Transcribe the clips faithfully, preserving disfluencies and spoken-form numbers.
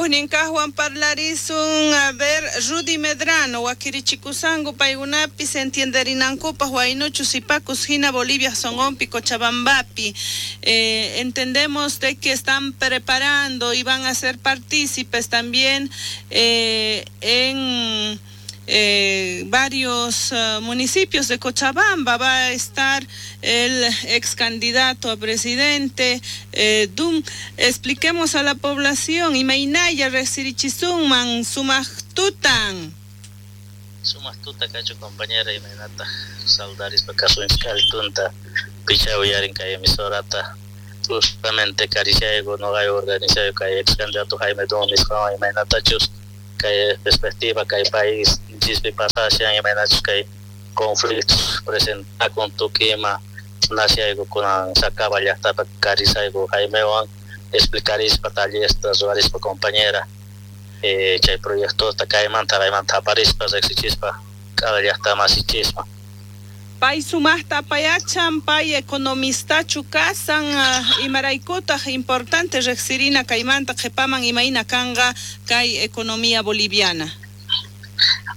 Huknin kaqwan parlarisun, a ver, Rudy Medrano, wakirichikusanku paykunapis entienderinankupaq waynuchu sipakus hina Bolivia sonqonpi Cochabambapi. Eh, entendemos de que están preparando y van a ser partícipes también eh, en eh, varios uh, municipios de Cochabamba. Va a estar el ex candidato a presidente eh, Dum. Expliquemos a la población, imaynalla riqsirichisunman sumaq tutan. Sumaq tuta kachun, compañera, imaynata saludarispa kasunchis picha uyarin kay emisorata. Justamente karishayku noqayku organizayo kay ex candidato Jaime Dun nisqawan imaynatachus kay perspectiva kay país chispi pasashan, imaynachus kay conflictos presentakun tukuy ima nashayku kunan Sacaba llaqtapi karisayku Jaimewan explicarispa tallerta ruwarispa, compañera, eh, chay proyectota kaymanta kaymanta aparispa riqsichispa cada llaqta masichispa. Pay sumaqta apayachan, pay economistachu kasan, uh, imaraykutaq importante riqsirina kaymanta qhipaman imayna kanqa kay economía boliviana.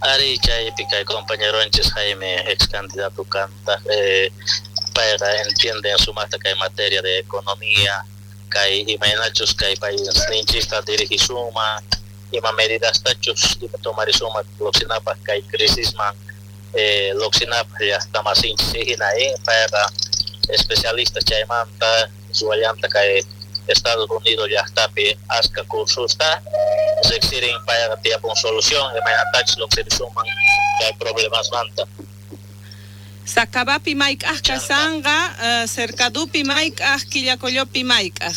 Ari, chaypi kay compañeronchis Jaime ex candidato kanta, eh, payqa entiende sumaqta kay materia de economía, kay imaynachus kay paisninchista dirigisuma, ima medidastachus ima tomarisuma lluqsinapaq kay crisisman, eh, lluqsinapaq llaqta masinchis hina, eh, payqa especialista chaymanta ruwallanta kay Estados Unidos llaqtapi aska cursusta riqsirin, payqa tiyapun solución imaynatachus lluqsirisuman kay problemasmanta. Sacabapi mayk'aq kasanqa, uh, Cercadupi mayk'aq, Quillacollopi mayk'aq.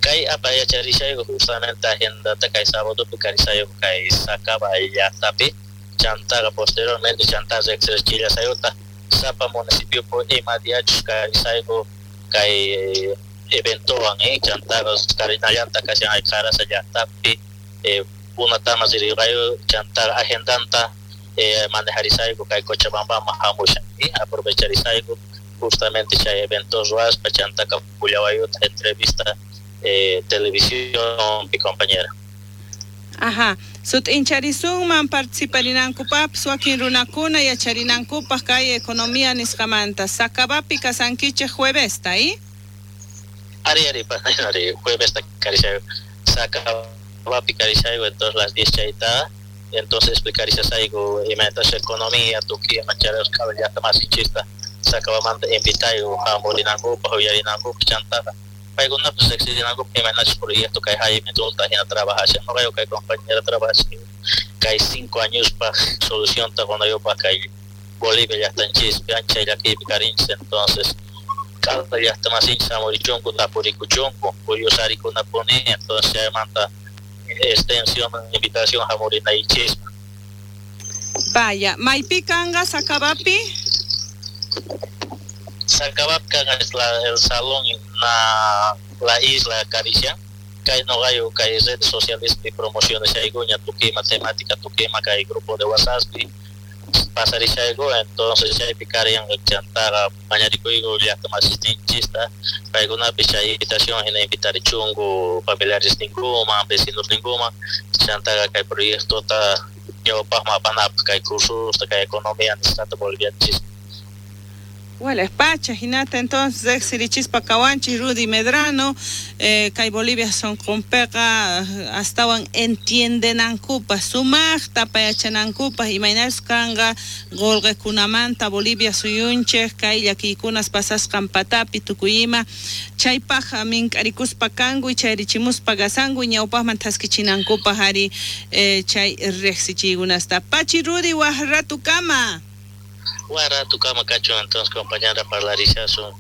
Kay apayacharishayku justamente agendata kay sábadopi karisayku kay Sacaba llaqtapi, chantaqa posteriormente chanta riqsirchillasayuta sapa municipiopi ima diachus karisayku kay eventowan, eh, chantaqa karinallanta kashan ay Qarasa llaqtapi, eh, punatama rirqayu chantaqa agendanta eh, manejarisayku kay Cochabambaman hamushan, eh, aprovecharisayku justamente chay evento ruwaspa chantaka pullawayuta entrevista eh, televisión mi compañera. Ajá, sut'incharisunman participarinankupaqpis wakin runakuna yacharinankupaq kay economía nisqamanta. Sacabapi kasankichik juevesta, ¿eh? Ari, ari, ari, juevesta karishayu, Sacabapi karishayu, entonces las diez chayta, entonces explicarishasayku imaynatas economía tukuy ima charasqa llaqta masinchista Sacabamanta invitayu hamurinankupaq uyarinankupaq chantaqa paykunapas riqsirinankupaq imaynachus proyecto kay Jaime Dunta hina trabajashan noqayku kay compañera trabajashan kay cinco añospaq solucionta qunayupaq kay Bolivia llaqtanchispi ancha llakiypi karinchis, entonces cada llaqta masinchis hamurichunku tapurikuchunku curiosarikunapuni, entonces chaymanta extensión invitación hamurinaychispa. Vaya, maypi kanqa Sacabapi? Sacabapi kanqa es la, el salón na la isla Caricia, kay noqayu kay redes sociales pi promocioneshaykuña tukuy ima temática tukuy ima kay grupo de WhatsApp pi pasarishayku, entonces chaypi kariyanqa chantaqa mañarikuyku llaqta masisninchista paykunapi chay invitación hina invitarichunku familiares ninkuman vecinos ninkuman chantaqa kay proyectota ñawpaqman apanapaq kay cursosta kay economía nisqata bolivianchispi. Wala pacha hinata entonces riqsirichispa kawanchis Rudy Medrano, eh, kay Bolivia sonqonpiqa astawan entiendenankupaq sumaqta payachanankupaq imaynachus kanqa qullqikunamanta Bolivia suyunchik kay llakiykunas pasasqan patapi tukuy ima chaypaq mink'arikuspa kanku chayrichimuspa kasanku ñawpaqman thaskichinankupaq ari eh, chay riqsichiykunasta. Pachi Rudy, waq ratukama. Waq kachun entonces compañera parlarishasun.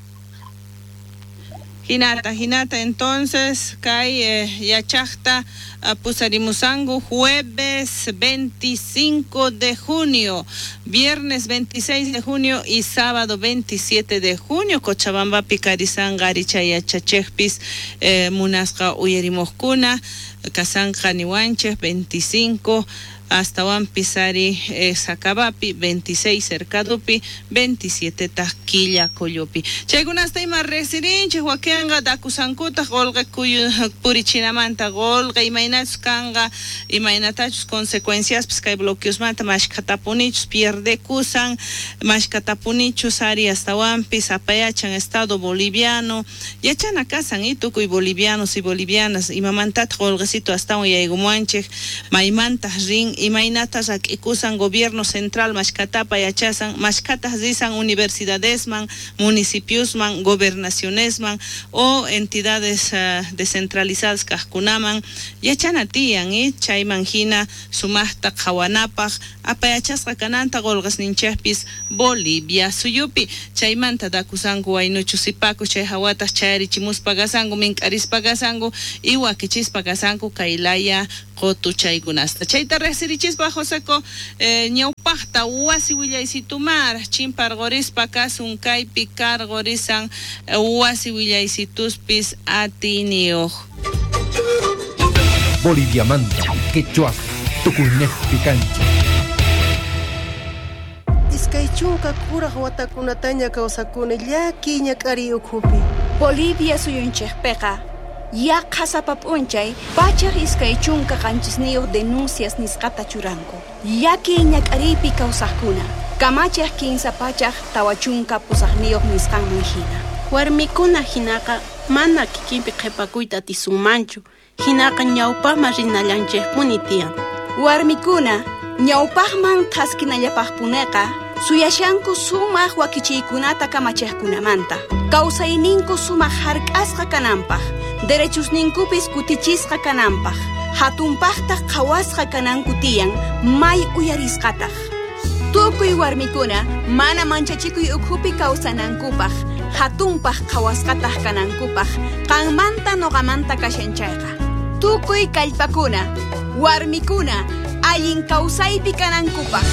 Hinata, hinata entonces kay eh, yachaqta uh, pusarimusanku jueves veinticinco de junio, viernes veintiséis de junio y sábado veintisiete de junio Cochabambapi karisanqa ari chay yachachejpis eh, munasqa uyarimuqkuna kasanqa niwanchik veinticinco astawanpis ari eh, Sacabapi veintiséis Cercadupi veintisiete taj Quillacollopi. Chaykunasta ima resirinchik wakinqa dakusankutaq qolqe kuyu purichinamanta qolqe imaynachus kanqa imaynatachus consecuenciaspis kay bloqueosmanta mashkhatapunichus pierdekusan mashkhatapunichus ari astawanpis apayachan Estado boliviano yachana kasan y tukuy bolivianos y bolivianas imamantataq qolqecito astawan yaykumuanchik maymantaq rin imaynata rak'ikusan gobierno central mashkhatapa yachasan mashkhataq risan universidadesman municipiosman gobernacionesman o entidades uh, descentralizadas kaqkunaman yachana tiyan y chayman hina sumaqta qhawanapaq apayachasqa kananta qolqasninchikpis Bolivia suyupi chaymanta dakusanku waynuchu sipaku chay hawataq chayarichimuspa kasanku mink'arispa kasanku y wakichispa kasanku kaylaya qotu chaykunasta chayta riqsirichispa Joseco eh, ñawpaqta wasi willaysitumar chimparqorispa kasun kaypi karqorisan eh, wasi willaysituspis atiniyuq. Bolivia manta, quechua, tukuynejpi kancha. Iskay chunka kuraq watakunataña kawsakuni llakiy ñak'ariy ukhupi. Bolivia suyunchikpiqa yaqha sapa p'unchay pachak iskay chunka qanchisniyuq denuncias nisqata churanku. Llakiy ñak'ariypi kawsaqkuna kamachiq kinsa pachak tawa chunka pusaqniyuq nisqanman hina. Warmikuna hinaqa mana kikinpi qhipakuyta atisunmanchu. Hinaqa ñawpaqman rinallanchikpuni tiyan. Warmikuna ñawpaqman thaskinallapaqpuneqa suyashanku sumaq wakichiykunata kamachiqkunamanta. Kawsayninku sumaq hark'asqa kananpaq, derechusninkupis kutichisqa kananpaq, hatunpaqtaq qhawasqa kananku tiyan, may uyarisqataq. Tukuy warmikuna mana manchachikuy ukhupi kawsanankupaq, hatunpaq qhawasqataq kanankupaq, qanmanta noqamanta kashan chayqa. Tukuy kallpakuna, warmikuna, allin kawsaypi kanankupaq.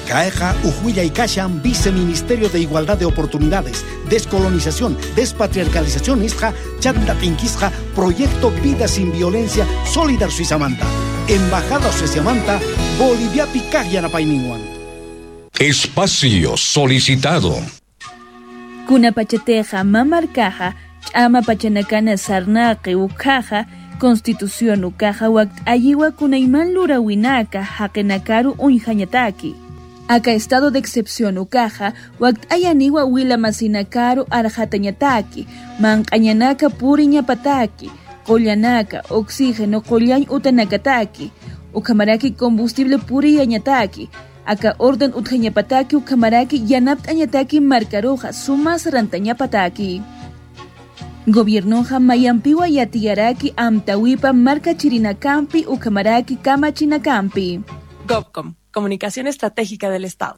Caeja, Ujuilla y Kashan, Viceministerio de Igualdad de Oportunidades, Descolonización, Despatriarcalización, Isja, Chanta Tinquisja, Proyecto Vida Sin Violencia, Solidar Suizamanta, Embajada Suizamanta, Bolivia Picaj Yanapayninwan. Espacio solicitado. Kuna pachateja, mamarcaja, chama pachanakana sarnaqi ukaja, Constitución ukaja wakt ayiwa kunayman lurawinaka, haqenakaru uñjañataki. Acá estado de excepción ukaja, wakt ayaniwa wila masinakaru arjatañataki, manqañanaka puriñapataki, qollanaka, oxígeno qollañ utanakataki, ukamaraki combustible puriyañataki, acá orden utjañapataki ukamaraki yanaptañataki marcaroja sumas rantañapataki. Gobiernoja mayampiwa yatiyaraki amtawipa marca chirinakampi ukamaraki kamachinakampi. GovCom, Comunicación Estratégica del Estado.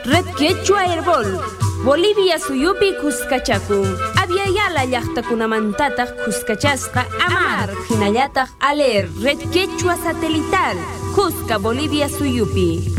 Red Quechua Herbol, Bolivia suyupi kuskachakun. Aviala llaqtakunamantataq kuskachasqa Amar, hinallataq Aler, Red Quechua Satelital, Cusca, Bolivia suyupi.